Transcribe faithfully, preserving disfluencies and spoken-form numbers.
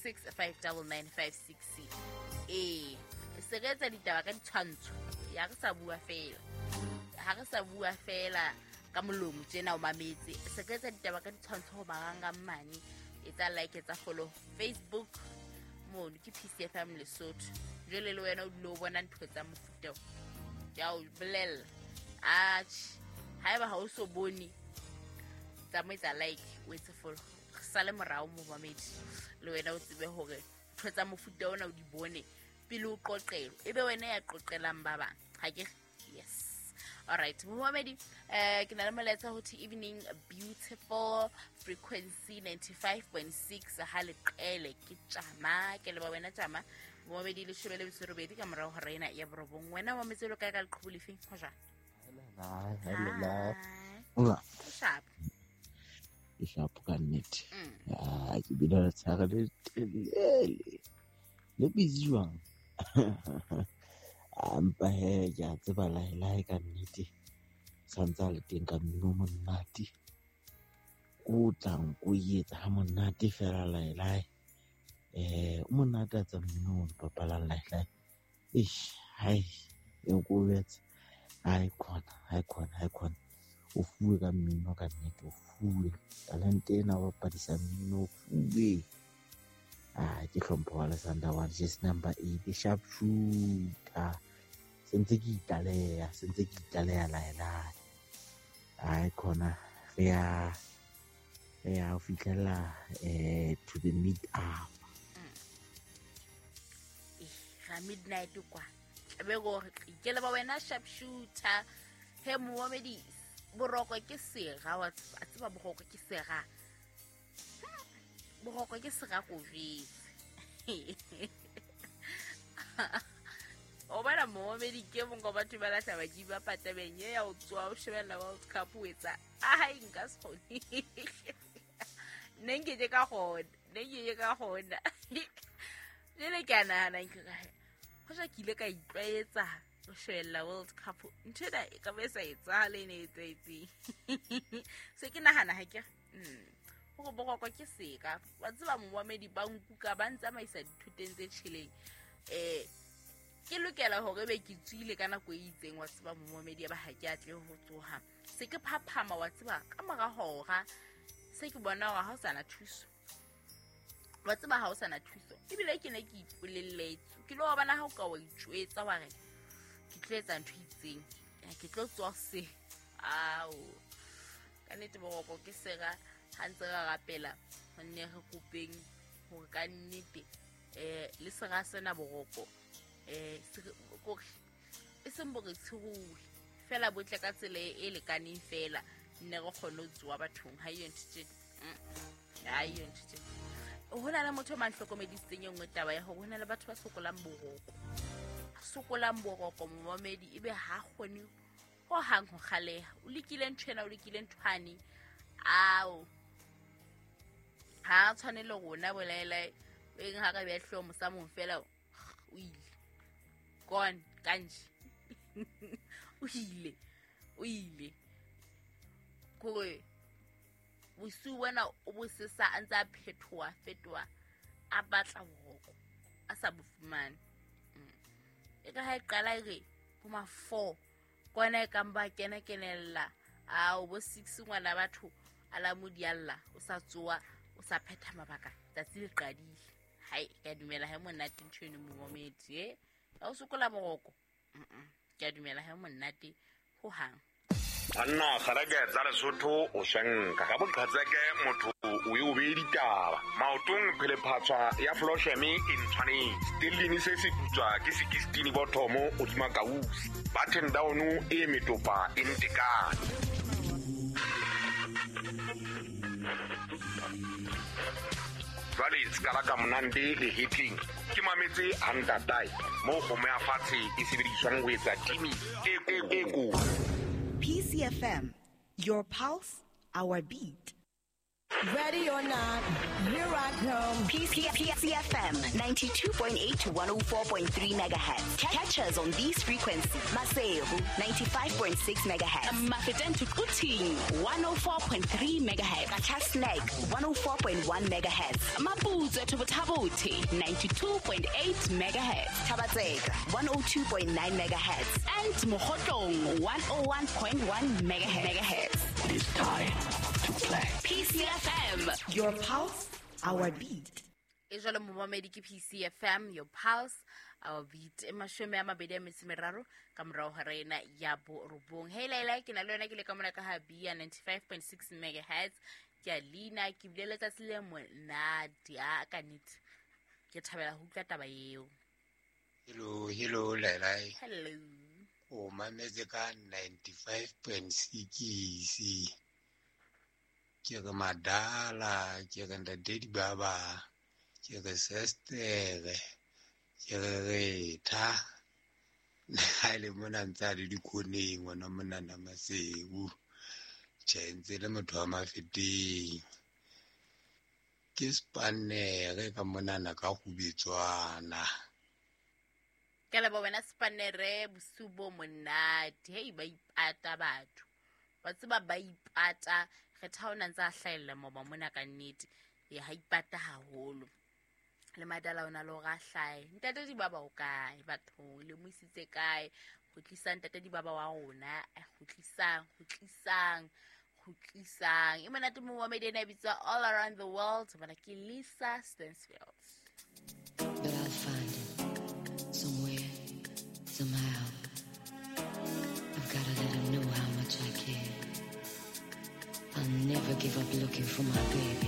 six five double nine five six. Ee, se re etsa ditaba ka ditshwantsho. Ya re sa bua fela. Ha re sa bua fela ka molomo tjena o mametse. Se re etsa ditaba ka ditshwantsho ho marangrang mane. Etsa like, etsa follow Facebook mono ke P C F M Lesotho. Jwale le wena o dule o bona ntho tsa mofuta o. Ke a o bolella. Atjhe, haeba ha o so bone, tsamaisa like, o etse follow. Re sale morao momamedi. Le wena o tsebe hore ntho tsa mofuta ona o di bone pele o qoqelwa. Ebe wena ya qoqelang ba bang. Ha ke yes. All right, momamedi, eh ke na le molaetsa ho thi evening beautiful frequency ninety-five point six ha le qele ke tjama ke le ba wena tjama momamedi le shebele botshwerobedi ka morao hora ena ya borobong. Wena wa metselo kae ka leqhubu lefeng ho jwang? Hello. Hola. Sharp. Ke sharp ka nnete. Ah, ke bile le tshare le telele. Le busy jwang? Ampa he ke a tseba lae ka nnete. Santsa le teng ka mmino monate. O tlang o etsa ha monate fela lae lae. Eh, o monate a tsa mmino o bapalang lae lae. Eish, hai, e go betsa. Hai khona, hai khona, hai khona. O fuwe ka mmino ka nnete, o fuwe. Talente ena wa bapadisa mmino o fuwe. Ah, ke hlompho wa Alexander one, just number eight, sharp shooter. Sentse ke itlaleha, sentse ke itlaleha lae lae. Hai khona, re ya re ya ho fihlela eh to the mid hour. Eh, ga midnight kwa. Be go ke le ba wena sharp shooter. He momamedi, boroko ke sera wa tseba boroko ke sera. Boroko ke sera go jetse. O bona momamedi ke mong wa batho ba lahla ba jiba patabeng ye ya o tswa o shebella World Cup o etsa. Ai nka se kgone. Ne nke ke ka gona, ne nke ke ka gona. Jele ke a nahana nke ka hoja ke ile ka itlwaetsa ho shebella World Cup. Ntho ena e ka be sa etsahale e ne e etsahetseng. Se ke nahana ha ke mm hore boroko ke seka. Wa tseba momamedi ba nkuka ba ntsamaisa dithoteng tse tjheleng. Eh ke lokela hore be ke tswile ka nako e itseng wa tseba momamedi ba ha ke atle ho tsoha. Se ke phaphama wa tseba ka mora hora se ke bona hore ha o sana thuso. Wa tseba ha o sana thuso. Ebile ke ne ke ipolelletse. Ke lo bona ha o ka wa itjwetsa wa re ke tlo etsa ntho e itseng. Ke tlo tswa se. Ao. Ka nnete boroko ke sera ha ntse re rapela nne re kopeng hore ka nnete eh le sera sena boroko eh kore e seng bore tshuruwe fela botle ka tsela e lekaneng fela nne re kgone ho tsoa bathong. Ha iyo ntho tje ha iyo ntho tje. Ho na le motho a manhlokomedisitseng e nngwe taba ya hore ho na le batho ba sokolang boroko. Sokolang boroko momamedi ebe ha kgone ho hang ho kgaleha. O lekile ntho ena, o lekile nthwane. Ao. Ha tshwane le rona bolaela o eng ha ka be hlomo mosamong fela o ile. Gone kanje. O ile. O ile. Kore bosiu bona o bo sesa a ntse a phethoa fetoa a batla boroko a sa bo fumane. E ka ha e qala e re bo ma four kwana e kang ba kena kenella a o bo six ngwana batho a la modialla o sa tsoa o sa phetha mabaka tsatsi le qadile. Hai ka dumela ha monate ntho eno momamedi eh ha o sokola boroko. Ke a dumela ha monate ho hang. Banna kgareke tsa Lesotho o shanka ka boqhatseke motho o e o be ditaba maotong phelephatswa ya Flosheme e ntshwanetse stellini se se putswa ke sixteen bothomo o dima kausi button down e metopa e ntekane. Jwale skala ka monande le hitling ke mametse hantatai mo kgomo ya fatshe e sebediswang ho etsa timi e e ko. P C F M, your pulse, our beat. Ready or not, here I come. P C F M ninety-two point eight to one oh four point three megahertz. Catch us on these frequencies. Maseru ninety-five point six megahertz. Mafeteng to Quthing one oh four point three megahertz. Qacha's Nek one oh four point one megahertz. Maputswe to Botha-Bothe ninety-two point eight megahertz. Thaba-Tseka one oh two point nine megahertz. And Mokhotlong one oh one point one megahertz. It is time to play. P C F M. Your pulse, our beat. E jwalo momamedi ke P C F M, your pulse, our beat. E mashome a mabedi a metso e meraro ka morao ho rena ya borobong. Hey Laila, ke na le yona ke le ka mona ka ha Bia ninety-five point six megahertz. Ke a leina, ke bile letsatsi le monate a ka nnete. Ke thabela ho utlwa taba eo. Hello, hello Laila. Hello. O mametse ka ninety-five point six. Ke re madala, ke re ntate Dibaba, ke re sestere, ke re retha. Ha ile mona ntse a le dikoneng ngwana monana Maseru. Tjhe, ntse le motho wa Mafeteng. Ke spanere ka monana ka kgubetswana. Ke leboha wena spanere, bosiu bo monate. Hei, ba ipata batho. Ba tseba ba ipata. Re tha o na ntse a hlahella moba mona ka nnete. E ha ipata haholo. Le madala ona le hore a hlahe. Ntate Dibaba o kae batho? Le mo isitse kae? Kgutlisang ntate Dibaba wa rona. Kgutlisang, kgutlisang, kgutlisang. E monate mo wa medena e bitswa All Around the World. Bana ke Lisa Stansfield. But I'll find him somewhere, somehow. I've gotta let him know how much I care. I'll never give up looking for my baby.